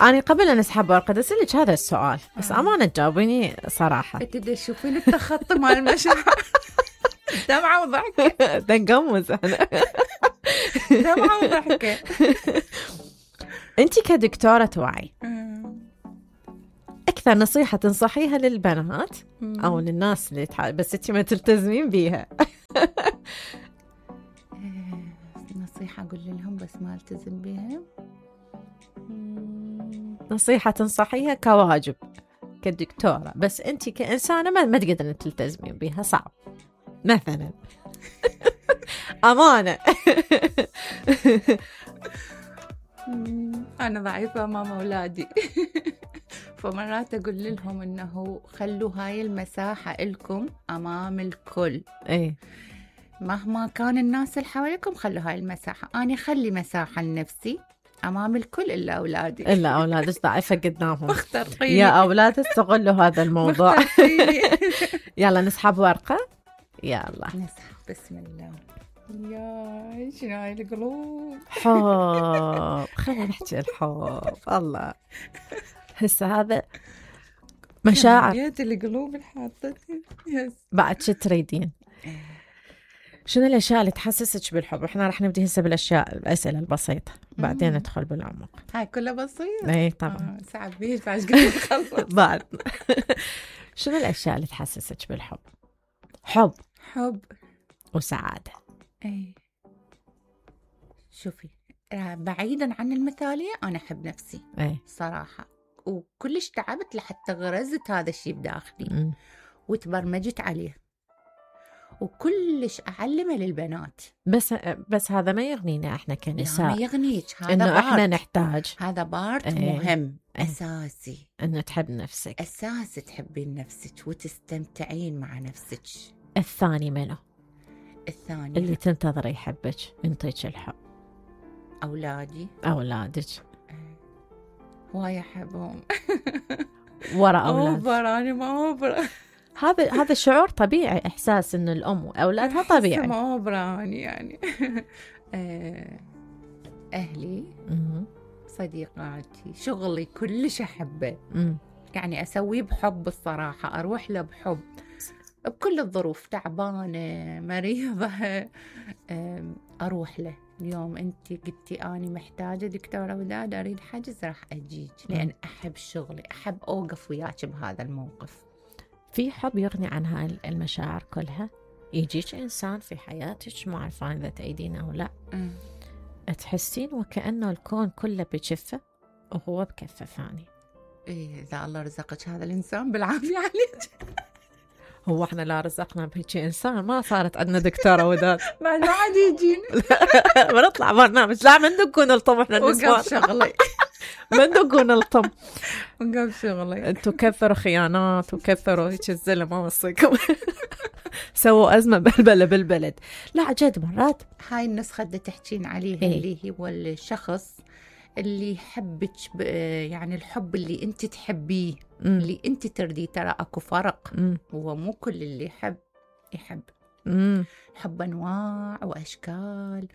أنا قبل أن أسحب ورقة أسألك هذا السؤال بس أمانة تجاوبيني صراحة. تدري تشوفين التخطي مال المشاعر. دمعة وضحكة. تنقمز أنا. دمعة وضحكة. أنتي كدكتورة وعي أكثر نصيحة تنصحيها للبنات أو للناس اللي بس أنتي ما تلتزمين بيها؟ نصيحة أقول لهم بس ما التزم بيها. نصيحة تنصحيها كواجب كدكتورة بس أنتي كإنسانة ما تقدرين تلتزمين بيها، صعب مثلا. أمانة. أنا ضعيفة أمام أولادي. فمرات أقول لهم إنه خلوا هاي المساحة لكم أمام الكل. إيه مهما كان الناس اللي حواليكم خلوا هاي المساحة. أنا خلي مساحة لنفسي أمام الكل إلا أولادي. إلا أولادك ضعيفة قدامهم. مخترقيني يا أولاد استغلوا هذا الموضوع. يلا نسحب ورقة. يلا نسحب. بسم الله. يا شنو هاي القلوب. حب. خلينا نحكي الحب. الله هسه هذا مشاعر. يا القلوب الحاطتي. بعد شو تريدين؟ شنو الأشياء اللي تحسسك بالحب؟ إحنا رح نبدي هسه بالأشياء الأسئلة البسيطة بعدين ندخل بالعمق. هاي كلها بسيطة. إيه طبعا. ساعة بيش فاش قلت نخلص. بعد شنو الأشياء اللي تحسسك بالحب؟ حب وسعادة. ايه شوفي بعيدا عن المثالية أنا أحب نفسي. ايه صراحة وكلش تعبت لحتى غرزت هذا الشيء بداخلي وتبرمجت عليه وكلش أعلمه للبنات. بس هذا ما يغنينا احنا كنساء. ما يغنيك. هذا انه احنا نحتاج. هذا بارت مهم أساسي. انه تحب نفسك. أساسي تحبين نفسك وتستمتعين مع نفسك. الثاني منه؟ الثاني اللي تنتظر يحبك ينطيك الحب. أولادك هواي أحبهم. ورا أولاد. أوبر أنا ما أوبر. هذا شعور طبيعي، إحساس إن الأم وأولادها طبيعي. ما أوبر يعني. أهلي صديقاتي شغلي كلش أحبه. يعني أسويه بحب الصراحة، أروح له بحب بكل الظروف، تعبانة مريضة أروح له. اليوم أنت قلتي أنا محتاجة دكتورة وداد أريد حجز راح أجيك لأن أحب شغلي، أحب أوقف وياك بهذا الموقف. في حب يغني عن هاي المشاعر كلها. يجيك إنسان في حياتك ما عارفة إذا تأيدين أو لا تحسين وكأنه الكون كله بكفة وهو بكفة ثاني. إيه إذا الله رزقك هذا الإنسان بالعافية عليك. هو احنا لا رزقنا بهيك انسان ما صارت عندنا دكتورة وداد. ما عاد يجينا. بنطلع برنامج لا من دقون الطم احنا النسوان. وقف شغلي. من دقون الطم. وقف شغلي. انتوا كثروا خيانات وكثروا هيك الزلمة ما وصيكم. سووا أزمة بلبلة بالبلد. لا جد مرات هاي النسخة اللي تحكين عليها اللي هو الشخص اللي يحبك يعني الحب اللي انت تحبيه اللي انت ترديه. ترى اكو فرق. هو مو كل اللي يحب. الحب انواع واشكال،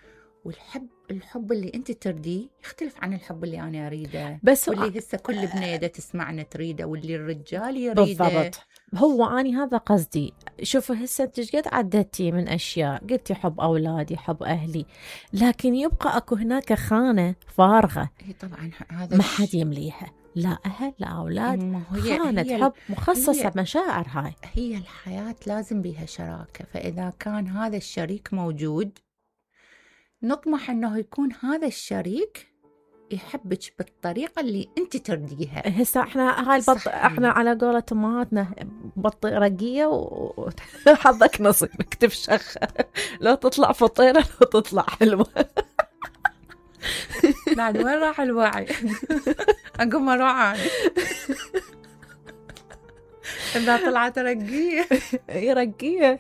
والحب اللي انت ترديه يختلف عن الحب اللي انا اريده. بس واللي هسه كل بنيده تسمعنا تريده واللي الرجال يريده. بالضبط. هو أني هذا قصدي. شوفوا هسه انت قد عدتي من أشياء، قلتي حب أولادي حب أهلي، لكن يبقى أكو هناك خانة فارغة. طبعا هذا ما حد يمليها، لا أهل لا أولاد. خانة حب مخصصة بمشاعر. هي الحياة لازم بيها شراكة. فإذا كان هذا الشريك موجود نطمح أنه يكون هذا الشريك يحبك بالطريقة اللي أنت ترديها. هسه احنا هاي احنا على قولة امهاتنا بط رقية وحظك نصيبك تفشخ. لو تطلع فطيرة لو تطلع حلوة. بعد وين راح الوعي؟ أقوم أروح عادي. إذا طلعت رقية رقية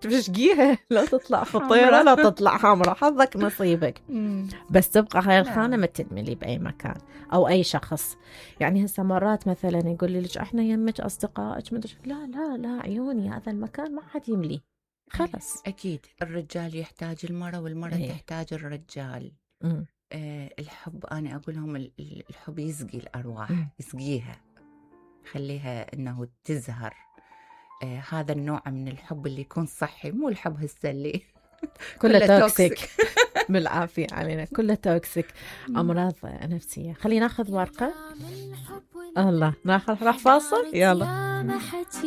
تفشقيها. لا تطلع فطيرة لا تطلع حمرة، حظك نصيبك. بس تبقى هاي الخانة ما تدملي بأي مكان أو أي شخص. يعني هسه مرات مثلا يقول لي لك احنا يمك أصدقائك مدري لا لا لا عيوني هذا المكان ما حد يملي خلص. أكيد الرجال يحتاج المرأة والمرأة تحتاج الرجال. الحب أنا أقول لهم الحب يسقي الأرواح، يسقيها، خليها إنه تزهر. هذا النوع من الحب اللي يكون صحي، مو الحب هالسلي كله توكسيك. بالعافية علينا، كله توكسيك، أمراض نفسية. خلينا ناخذ ورقة. الله راح فاصل، يلا.